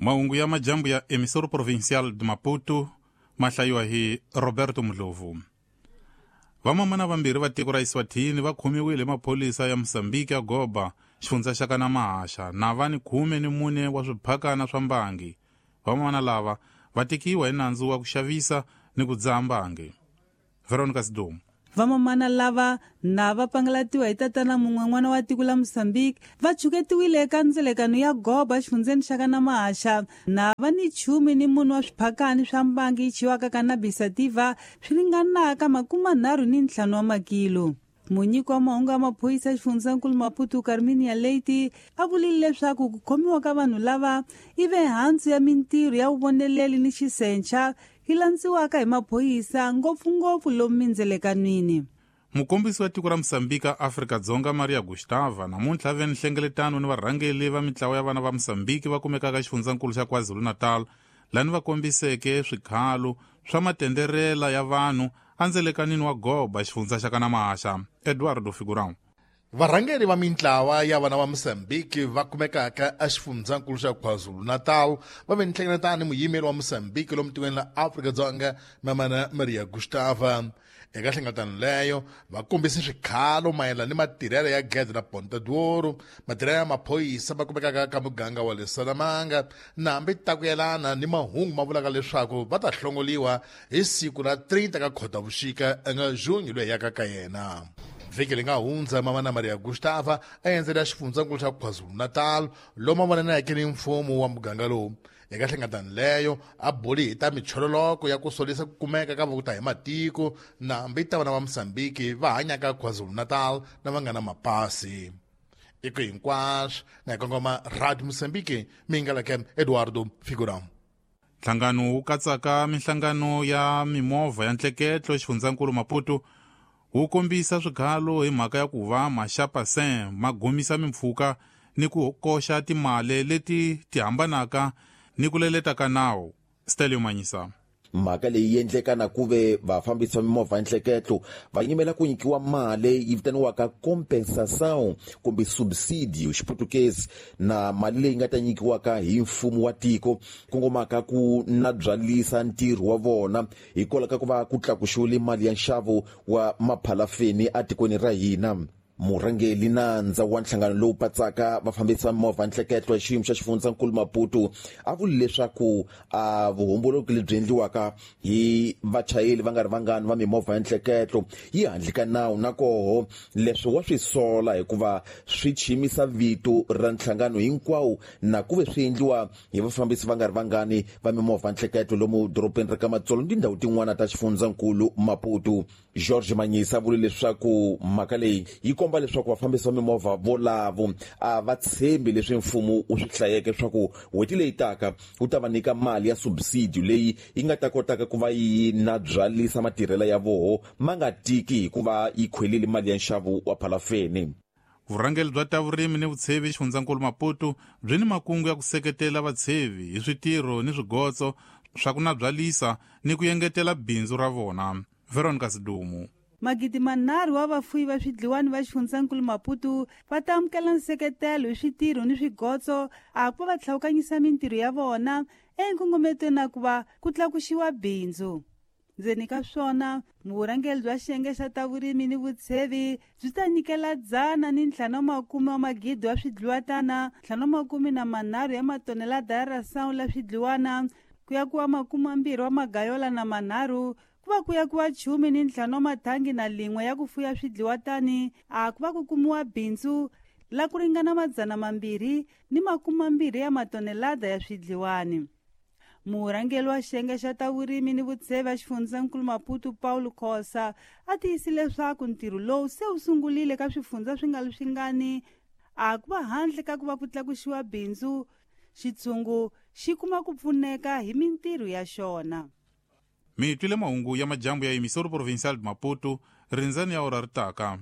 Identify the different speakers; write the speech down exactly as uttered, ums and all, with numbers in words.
Speaker 1: Mahungu ya majambu ya Emissora Provincial de Maputo ma hlayiwa hi Roberto Mudlovu. Vamamana vambirhi va tiko ra Eswatini va khomiwile hi maphorisa ya Mozambique ya Goba, xifundza xa ka Mahaxa, na va ni khume ni mune wa swiphakana swa mbangi. Vamamana lava va tekiwa hi nandzu wa ku xavisa ni ku dzaha mbangi. Veronica Sidomu.
Speaker 2: Vamamana lava na va pangalatiwa hi tatana mun'we n'wana wa tiko la Mozambique va chuketiwile eka ndzelekano ya Goba xifundzeni xa ka Mahaxa na va ni chumi ni munhu wa swiphakani swa mbangi yi chiwaka cannabis sativa swi ringanaka makume nharhu ni ntlhanu wa makilo. Munyiki wa mahungu ya maphorisa xifundzankulu Maputo Carminia Leite a vulile leswaku ku khomiwa ka vanhu lava i ve hansi ya mintirho ya vuvoneleli ni xisencha yi landziwaka hi maphorisa ngopfungopfu lomu mindzelekanwini.
Speaker 1: Mukombisi wa tiko ra Mozambique Afrika-Dzonga Maria Gustava namuntlha a ve ni nhlengeletano ni varhangeli va mitlawa ya vana va Mozambique va kumekaka xifundzankulu xa KwaZulu-Natal lani va kombiseke swikhalo swa matenderela ya vanhu endzelekanini wa Goba xifundza xa ka Mahaxa. Eduardo Figurão.
Speaker 3: Varhangeri va mintlawa ya vana va Mozambique va kumekaka exifundzankulu xa KwaZulu-Natal va ve ni nhlengeletano ni muyimeri wa Mozambique lomu tikweni la Afrika-Dzonga Mamana Maria Gustava. Eka nhlengeletano leyo va kombise swikhalo mayelana ni matirhelo ya gede la Ponta d'Ouro, matirhelo ya maphorisa va kumekaka ka muganga wa le Salamanga, na hambi ta ku yelana ni mahungu ma vulaka leswaku va ta hlongoliwa hi siku ra thirty ka Khotavuxika nga June loyi yaka ka yena. Vhiki leyi nga hundza Mamana Maria Gustava a endzela xifundzankulu xa KwaZulu-Natal lomu a vonaneke ni mfumo wa muganga lowu. Eka nhlengeletano leyo a buli hi ta michololoko ya ku solisa ku kumeka ka vokuta hi matiko na hambi ta vana va Mozambique va hanyaka KwaZulu-Natal na va nga na mapasi. I ku hinkwaswo na hi kongoma Radio Mozambique mi nga leke Eduardo Figurão.
Speaker 1: Nhlangano wu katsaka minhlangano ya mimovha ya ntleketlo xifundzankulu Maputo wu kombisa swikhalo hi mhaka ya ku va maxapasin ma gomisa mimpfhuka ni ku koxa timali leti ti hambanaka ni ku leleta ka nawu. Stelio Manyisa.
Speaker 4: Mhaka leyi endleka na ku ve vafambisi va mimovha nhleketlo va yimela ku nyikiwa mali yi vitaniwaka compensação kumbe subsidio xiputukezi, na mali leyi nga ta nyikiwaka hi mfumo wa tiko kongomaka ku nabyalisa ntirho wa vona hikwalaho ka ku va ku tlakuxiwile mali ya nxavo wa maphalafeni etikweni ra hina. Murhangeri nandza wa nhlangano lowu patsaka vafambisi va mimovha nhleketlo ya xiyimo xa xifundzankulu Maputo a vuli leswaku a vuhomboloki lebyi endliwaka hi vachayeri va nga ri vangani va mimovha ya nhleketlo yi handle ka nawu, na koho leswi wa swi sola hikuva swi chimisa vito ra nhlangano hinkwawo na ku ve swi endliwa hi vafambisi va nga ri vangani va mimovha nhleketlo lomu dorobeni ra ka Matsolo ni tindhawu tin'wana ta xifundzankulu Maputo. George Manyisa vule leswaku mhaka leyi yi komba leswaku vafambisi va mimovha volavo a va tshembi leswi mfumo wu swi hlayeke leswaku n'hweti leyi taka wu ta va nyika mali ya subsidio leyi yi nga ta kotaka ku va yi nabyalisa matirhelo ya voho ma nga tiki hikuva yi khwelile mali ya nxavo wa phalafeni.
Speaker 1: Vurhangeri bya ta vurimi ni vutshevi xifundzankulu Maputo byi ni makungu ya ku seketela vatshevi hi switirho ni swigotso swa ku nabyalisa ni ku engetela bindzu ra vona. Veronica Sidumu.
Speaker 2: Magidi manharhu wa vafuyi va swidliwani va xifundzankulu Maputo va ta amukela nseketelo hi switirho ni swigotso a ku va va tlhawukanyisa mintirho ya vona enkongometweni na ku va ku tlakuxiwa bindzu. Ndzeni ka swona, vurhangeri bya xiyenge xa ta vurimi ni vutshevi byi ta nyikela dzana ni ntlhanu wa makume wa magidi wa swidliwatana, ntlhanu wa makume na manharhu ya matonelada ya rasawu la swidliwana, ku ya kuwa makume mambirhi wa magayola na manharhu, ku va ku ya kuwa chumi ni ntlhanu wa mathangi na lin'we ya ku fuya swidliwatani, a ku va ku kumiwa bindzu la ku ringana madzana mambirhi ni makume mambirhi ya matonelada ya swidliwani. Murhangeri wa xiyenge xa ta vurimi ni vutshevi a xifundzankulu Maputo Paulo Khosa a tiyisile leswaku ntirho lowu se wu sungurile ka swifundza swi nga ri swingani, a ku va handle ka ku va ku tlakuxiwa bindzu, xitshungu xi kuma ku pfuneka hi mintirho ya xona.
Speaker 1: Mi twile mahungu ya majambu ya Emissora Provincial de Maputo, rindzani ya ora ri taka.